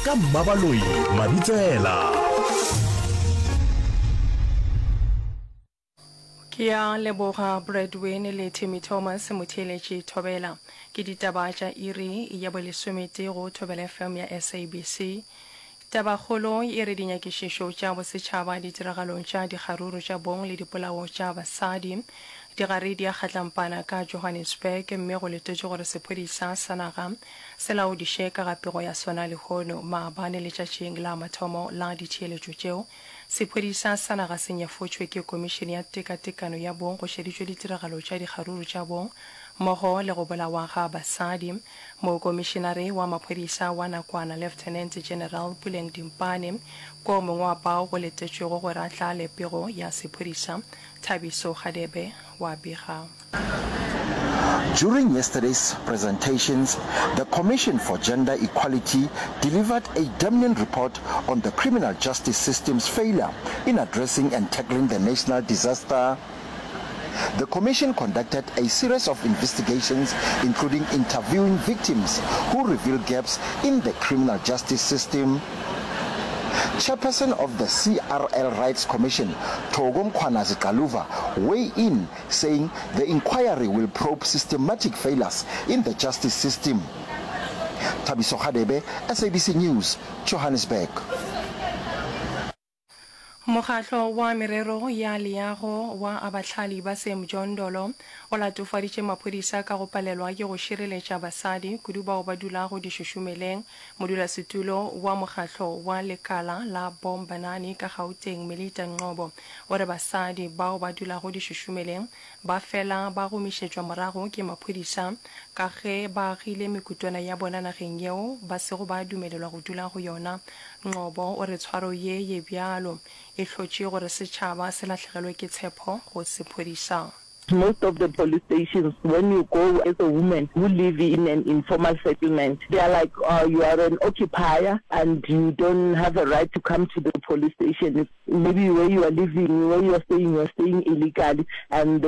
Ka Mmabaloi Mabitsela. Ke a leboga Bradwin le Timmy Thomas motheeletši Thobela. Ke ditaba tša iri ya bolesometee go Thobela FM ya SABC. Tabakgolo e re dinyakišišo tša bosetšhaba ditiragalong tša dikgaruru tša bong le dipolao tša basadi di gare di a kgatlampana ka Johannesburg mme go letetšwe gore sephodisa sa naga se laodiše ka ga pego ya sona lehono. Maabane letšatšing la mathomo la ditheeletšo tšeo, sephodisa sa naga se nyefotšwe ke Komišene ya Tekatekano ya Bong go šeditšwe ditiragalo tša dikgaruru tša bong mmogo le go bolawa ga basadi. Mokomišenare wa maphodisa wa nakwana Lieutenant General Puleng Dimpane ke o mongwe wa bao go letetšwego gore a tlale pego ya sephodisa, Thabiso Gadebe wa bega. During yesterday's presentations, the Commission for Gender Equality delivered a damning report on the criminal justice system's failure in addressing and tackling the national disaster. The commission conducted a series of investigations, including interviewing victims who revealed gaps in the criminal justice system. Chairperson of the CRL Rights Commission, Thoko Mkhwanazi-Xaluva, weigh in, saying the inquiry will probe systematic failures in the justice system. Thabiso Hadebe, SABC News, Johannesburg. Mokgatlo wa Merero ya Leago wa Abahlali ba Semjondolo o latofaditše maphodisa ka go palelwa ke go šireletša basadi, kudu bao ba dulago dišušumeleng. Modulasetulo wa mokgatlo wa lekala la Bombanani ka Gauteng, Melita Ngcobo, o re basadi bao ba dulago dišušumeleng ba fela ba gomišetšwa morago ke maphodisa ka ge ba agile mekutwana ya bona nageng yeo ba sego ba dumelelwa go dula go yona. Ngcobo o re tshwaro ye ye bjalo e hlotše gore setšhaba se lahlegelwe ke tshepho go sephodisa. Most of the police stations when you go as a woman who live in an informal settlement they are like you are an occupier and you don't have a right to come to the police station maybe where you are living where you are staying you are staying illegally and.